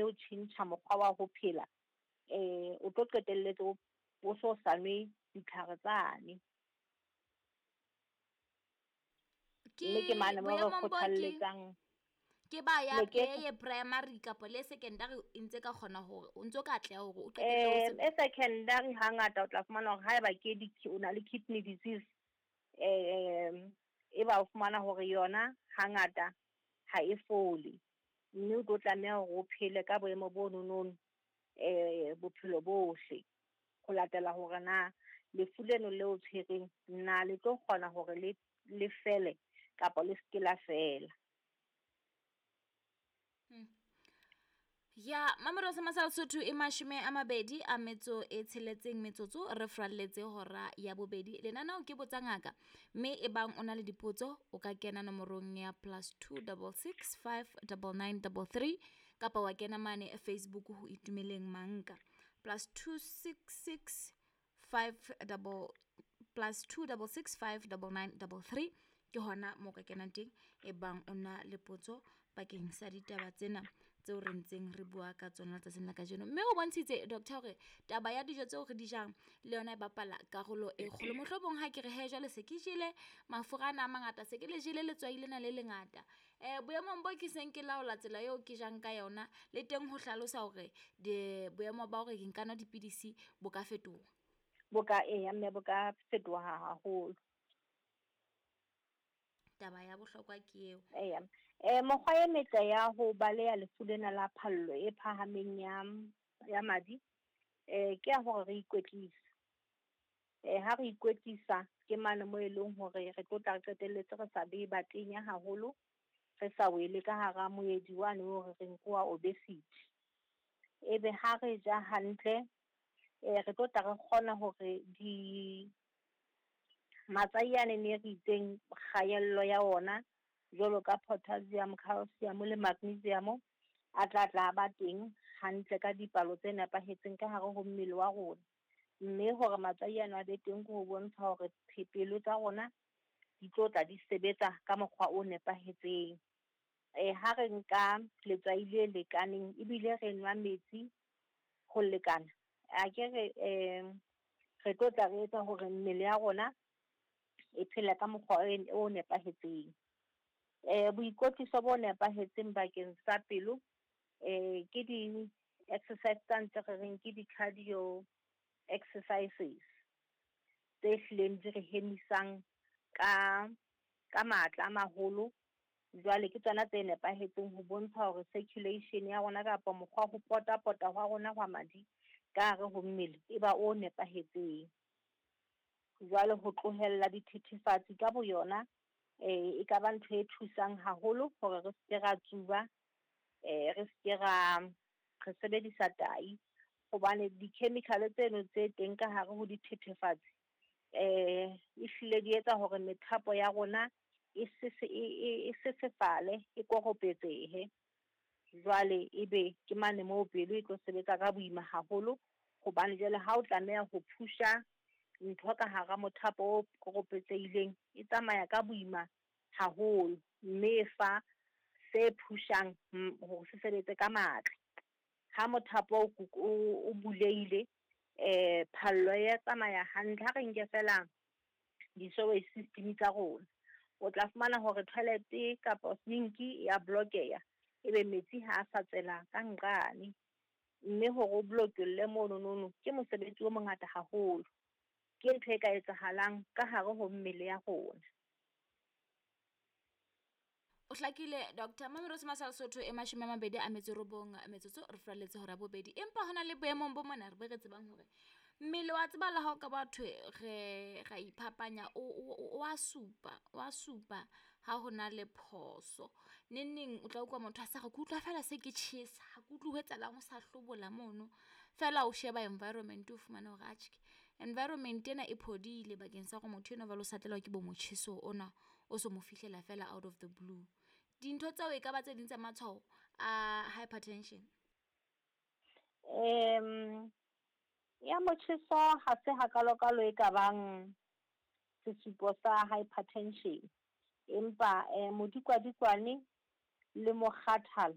o tjhentjha mokgwa wa ho phela, o tlo qetelletse o so sa nwe ditlhare tsane. Ke Mme ke mane mo re boemong bo ke kgothalletsang ke ba ya Ne ke le ye primary kapa le secondary e ntse ka kgona hore o ntso ka atleha hore o qetelle o se E secondary hangata o tla fumana hore haeba ke di o na le kidney disease, e ba o fumana hore yona hangata ha e fole, mme o tlo tlameha hore o phele ka boemo bo nonono bophelo bohle, ho latela hore na lefu leno leo tshwereng na le tlo kgona hore le fele kapa le seke la fela. Ya Mamelodi sa Masala Sotho e 26 metsotso re fralletse hora ya bobedi. Lenaneo ke Botsa Ngaka, mme e bang o na le dipotso o ka kena nomorong ya +2 66 5 99 33 kapa wa kena mane Facebook ho Itumeleng Manka +2 6 6 5 double +2 66 5 99 33 ke hona mo ka kenang teng e bang o na le potso bakeng sa ditaba tsena tseo re ntseng re bua ka tsona letsatsing la kajeno. Mme o bontshitse doctor hore taba ya dijo tseo re di jang le yona e bapala karolo e kgolo. Mohlomong ha ke re he jwale se ke jele mafura ana a mangata, se ke le jele letswai lena le lengata, boemong bo ke seng ke laola tsela eo ke jang ka yona, le teng ho hlalosa hore boemo ba hore ke nka nwa dipidisi bo ka fetoha. Bo ka, eya, mme bo ka fetoha haholo. Taba ya bohlokwa ke eo. Eya. Mokgwa e metle ya ho baleha lefu lena la phallo e phahameng ya madi, ke ya hore re ikwetlise. Ha re ikwetlisa ke mane mo e leng hore re tlo tla re qetelletse re sa be batenya haholo, re sa wele ka hara moedi wane o re reng ke wa obesity. Ebe ha re ja hantle, re tlo tla re kgona hore di matswai ane ne re itseng kgaello ya ona jwalo ka potassium, calcium le magnesium a tla tla ba teng hantle ka dipalo tse nepahetseng ka hare ho mmele wa rona. Mme hore matswai ana a be teng ke ho bontsha hore pelo tsa rona di tlo tla di sebetsa ka mokgwa o nepahetseng. Ha re nka letswai le lekaneng ebile re nwa metsi ho lekana, a ke re re tlo tla re etsa hore mmele ya rona e phela ka mokgwa o nepahetseng. Boikwetliso bo nepahetseng bakeng sa pelo, ke di-exercise tsa ntse re reng ke di-cardio exercises tse hlileng di re hemisang ka matla a maholo. Jwale ke tsona tse nepahetseng ho bontsha hore circulation ya rona kapa mokgwa ho pota-pota hwa rona hwa madi ka hare ho mmele e ba o nepahetseng. Jwale ho tlohella dithethefatsi ka boyona, e ka ba ntho e thusang haholo hore re seke ra tsuba, re seke ra re sebedisa tai, hobane di-chemical tseno tse teng ka hare ho dithethefatsi, ehlile di etsa hore methapo ya rona e sesefale, e koropetsehe. Jwale ebe ke mane moo pelo e tlo sebetsa ka boima haholo, hobane jwale ha o tlameha ho phusha ntho ka hara mothapo o koropetsehileng, e tsamaya ka boima haholo, mme e fa se phushang hore se sebetse ka matla. Ha mothapo o bulehile, phallo ya tsamaya hantle. Ha re nke fela di-sewage system tsa rona, o tla fumana hore toilet kapa sink ya blockeha, ebe metsi ha a sa tswela ka nqane, mme hore o blokolle mono nono ke mosebetsi o mongata haholo. Ke ntho e ka etsahalang ka hare ho mmele ya rona. O hlakile Doctor. Mamelodi Masala Sotho e 29 metsotso re fralletse hora bobedi. Empa hona le boemong bo mona re be re tsebang hore mmele wa tseba la hao ka batho re ra iphapanya o a supa, o a supa ha hona le phoso. Neng o tla utlwa motho a sa re ke utlwa fela se ke tjhesa, ha ke utlwe ho etsahalang, o sa hlobola mono. Fela o sheba environment o fumane hore atjhe environment ena e phodile bakeng sa hore motho enwa jwale o sa tlelwa ke bo motjheso ona o so mo fihlela fela out of the blue. Dintho tseo e ka ba tse ding tsa matshwao a hypertension. Ya motjheso ha se hakalokalo e ka bang sesupo sa hypertension, empa modikwadikwane le mokgathala